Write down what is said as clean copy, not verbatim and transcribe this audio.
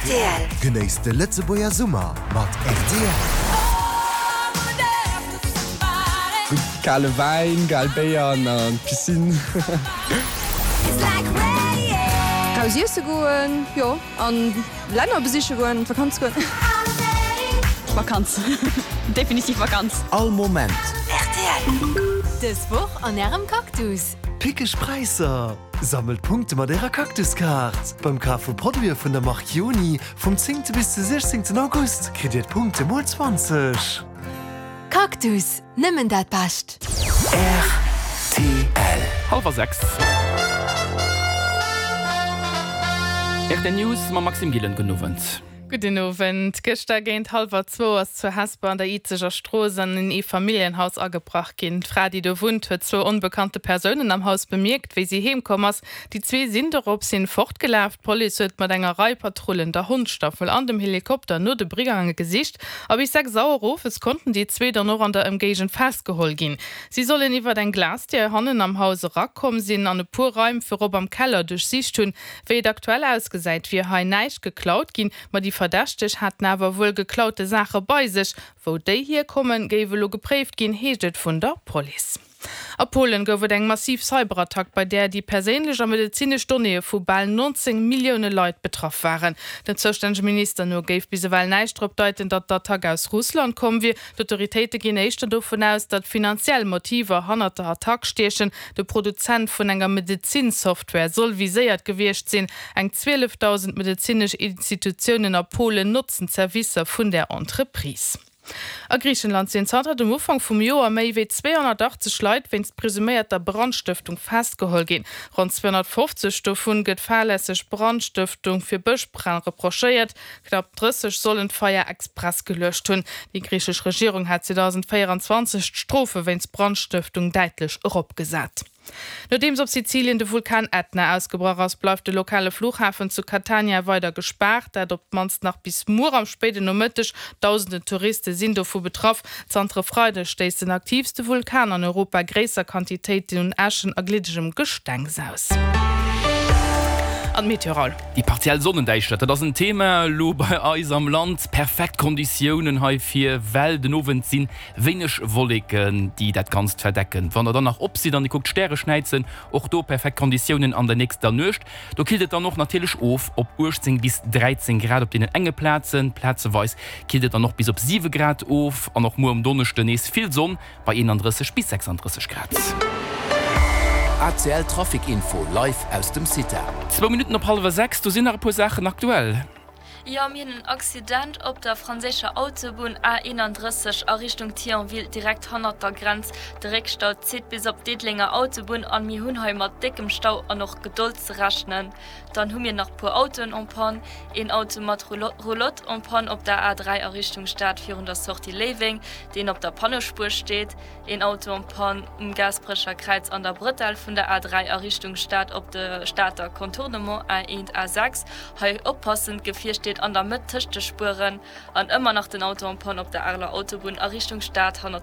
Rtl. Genéisst de Lëtzebuerger Summer mat rtl. Gutt kale Wäin, kal Béier an an d'Piscine. Raus iesse goen, jo, an Länner besiche goen, an d'Vakanz goen. Vakanz, definitiv Vakanz. All Moment. Rtl. Dës Woch an Ärem Cactus. Pickeg Präisser! Sammelt Punkte mat Ärer Cactus-Kaart! Beim Kaf vu Produite vun der Mark Joni vum 10. Bis de 16. August kritt Dir d'Punkte mol 20. Cactus, nëmmen dat Bescht! Rtl. Hallwer 6. Rtl News mam Maxime Gillen. Gudden Owend. Gudden Owend. Gëschter géint hallwer zwou ass zu Hesper an der Izeger Strooss an en Eefamilljenhaus agebrach ginn. D'Fra, déi do wunnt, huet zwou onbekannte Persounen am Haus bemierkt, wéi si heem komm ass. Déi zwee sinn dorops hin fortgelaf. D'Police huet mat enger Rei Patrullen, der Hondsstaffel an dem Helikopter no de Brigange gesicht a bis 6 Auer owes konnten déi zwee dann och an der Ëmgéigend festgeholl ginn. Si sollen iwwert eng Glasdier hannen am Haus erakomm sinn an e puer Raim virop am Keller duerchsicht hunn. Wéi et aktuell ausgesäit, wier hei näischt geklaut ginn, ma déi Verdächteg haten awer wuel geklaute Saache bei sech. Wou déi hierkommen, géif elo gepréift ginn, heescht et vun der Police. A Polen gouf et eng massiv Cyberattack, bei där déi perséinlech a medezinesch Donnéeë vu bal 19 Millioune Leit betraff waren. Dem zoustännege Minister no géif bis ewell näischt drop deiten, datt d'Attack aus Russland komm wier. D'Autoritéite ginn éischter dovun aus, datt finanziell Motiver hannert der Attack stiechen. De Produzent vun enger Medezin-Software soll viséiert gewiescht sinn. Eng 12.000 medezinesch Institutiounen a Polen notzen d'Servicer vun där Entreprise. A Griichenland sinn zanter dem Ufank vum Joer méi wéi 280 Leit wéinst presuméierter Brandstëftung festgeholl ginn. Ronn 250 dovun gëtt fahrlässeg Brandstëftung fir Bëschbränn reprochéiert. Knapp 30 sollen d'Feier express geluecht hunn. Déi griichesch Regierung hat 2024 d'Strofe wéinst Brandstëftung däitlech eropgesat. Nodeems op Sizilien de Vulkan Ätna ausgebrach ass, bleift de lokale Flughafen zu Catania weider gespaart. Dat op d'mannst nach bis muer am spéiden Nomëtteg. Dausenden Touriste sinn dovu betraff. Zanter e Freideg stéisst den aktiivste Vulkan an Europa gréisser Quantitéiten un Äschen a gliddegem Gestengs aus. An d'Meteo Raoul. Déi partiell Sonnendäischtert, dat ass en Thema elo bei eis am Land. Perfekt Konditiounen heifir, well den Owend si wéineg Wolleken, déi dat Ganzt verdecken. Wann der dann nach op sidd an dir kuckt d'Stäre schnäizen, och do perfekt Konditiounen an der nächster Nuecht. Do killt et dann och natierlech of op 18 bis 13 Grad op deenen enge Plazen, plazeweis killt et dann och bis op 7 Grad of. An och muer um Donneschden nees vill Sonn bei 31 bis 36 Grad. ACL Trafic Info live aus dem CITA. Zwou Minutten op hallwer 6, do sinn nach e puer Saachen aktuell. Jo, mir hunn en Accident op der franséischer Autobunn A31 a Richtung Thionville, direkt hannert der Grenz. De Réckstau zitt bis op d'Diddelenger Autobunn an mir hunn hei mat déckem Stau an och Gedold ze rechnen. Dann hu mir nach puer Autoen en panne, een Auto mat Roulotte en panne op der A3 a Richtung Stad virun der Sortie Léiweng, deen op der Pannespuer steet, een Auto en panne um Gaasperecher Kräiz an der Bretelle vun der A3 a Richtung Stad op de Stater Contournement A1 A6, hei oppassen, d'Gefier steet an der Mëtt tëscht de Spueren, an ëmmer nach den Auto en panne op der Areler Autobunn a Richtung Stad hannert.